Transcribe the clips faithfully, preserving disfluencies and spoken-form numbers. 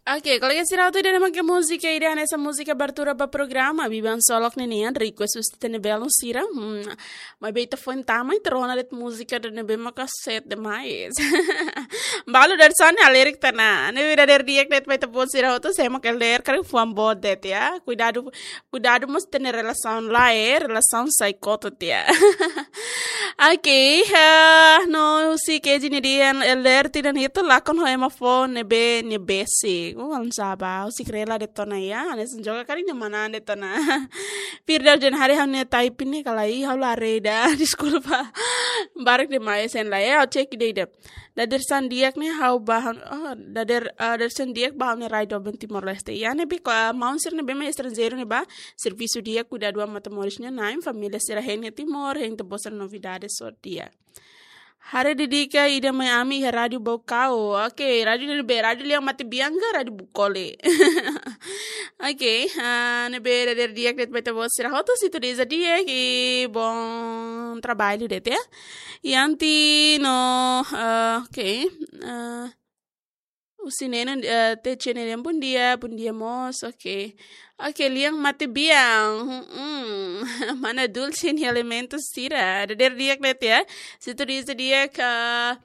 Oke, kolega sira hotu, ida-ne'e mak múzika ida hanesan múzika abertura ba programa Biban Solok ninian, request husi ita-nia belun sira. Hmm, maibé ita foin tama ita rona de'it múzika ida-ne'ebé maka sete demais. Balu dari sana lirik tana. Ne'ebé dadeer di'ak de'it ba ita-boot sira hotu, sé mak Elder, karik fuan boot de'it ya. Kuidadu, kuidadu mós ita-nia relasaun lae, relasaun sai kotu tiha. Oke, ah, no husi K G ni dia Elder tinan hitu lakon ho ema foun ne'ebé nia besik. Oh, alam saba, husi Krela de'it ona ya, hanesan joga karik nia manán de'it ona. Firdaus Janhari, ha'u-nia type ne'e ka lae, ha'u la haree ida, deskulpa. Barak demais, sen la ya, ha'u cek ida-ida. Dadeer-san di'ak ne'e ha'u ba ha'u, oh, dadeer, ah, dadeer-san di'ak ba ha'u-nia rai doben Timor-Leste. Ya ne'ebé ko, ah, maun sira ne'ebé mak estranjeiru ne'e ba, servisu di'ak, kuidadu an matan-moris nia na'in, família sira hein iha Timor, hein ita-boot sira novidade só di'ak. Haree dedika ida mai ami iha Rádiu Baucau. Oke, rádiu ne'ebé, rádiu lian mate bian ka rádiu Bucole. Oke, ah, ne'ebé dadeer di'ak de'it ba ita-boot sira hotu, sintonia di'ak i bom trabalho de'it ya. Yanti no, ah, oke, ah, husi Neno, eh, T C N M, bom dia, bom dia mós, oke. Oke, lian mate bian, hmm, mana Dulce nia elementu sira, dadeer di'ak de'it ya. Sintonia di'ak, ah,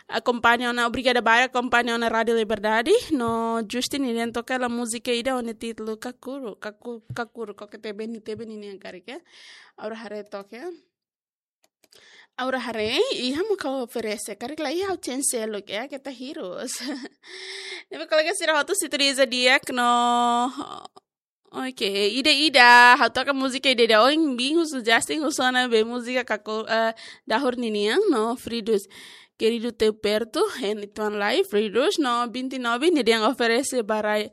akompaña ona, obrigada barak akompaña ona Rádiu Liberdade, no Justin nian toka hela múzika ida ho nia títulu Kakuru, Kaku-, Kakuru, ko ke tebe ni tebe ninian karik ya. Agora haree toka ya. Agora haree, iha mak ha'u oferese, karik la iha ha'u cancel loke ya, keta hirus. Ne'ebé kolega sira hotu, sintonia di'ak no, oke, ida-ida, ha'u toka múzika ida-ida, ohin bin husu Justin husu ona be múzika Kaku-, eh, Dahur ninian no Fridus. Querido teu perto, hein uitoan lai, Fridus, no vinte e nove, nia dehan oferese ba rai,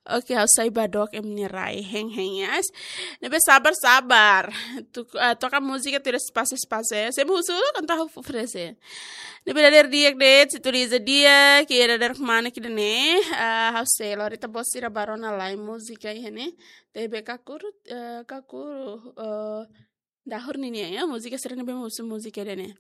oke, ha'u sai ba dook ema nia rai, hein, hein, yes. Ne'ebé sabar, sabar. Tu, ah, toka múzika tuir espasu, espasu, eh. Sé mak husu uluk, entaun ha'u oferese. Ne'ebé dadeer di'ak de'it, sintonia di'ak, ke dadeer kmanek ida-ne'e, ah, ha'u sei lori ita-boot sira ba rona lai múzika iha ne'e. Tebe Kakuru, eh, Kakuru, eh, Dahur ninian ya, múzika sira ne'ebé mak husu múzika ida-ne'e.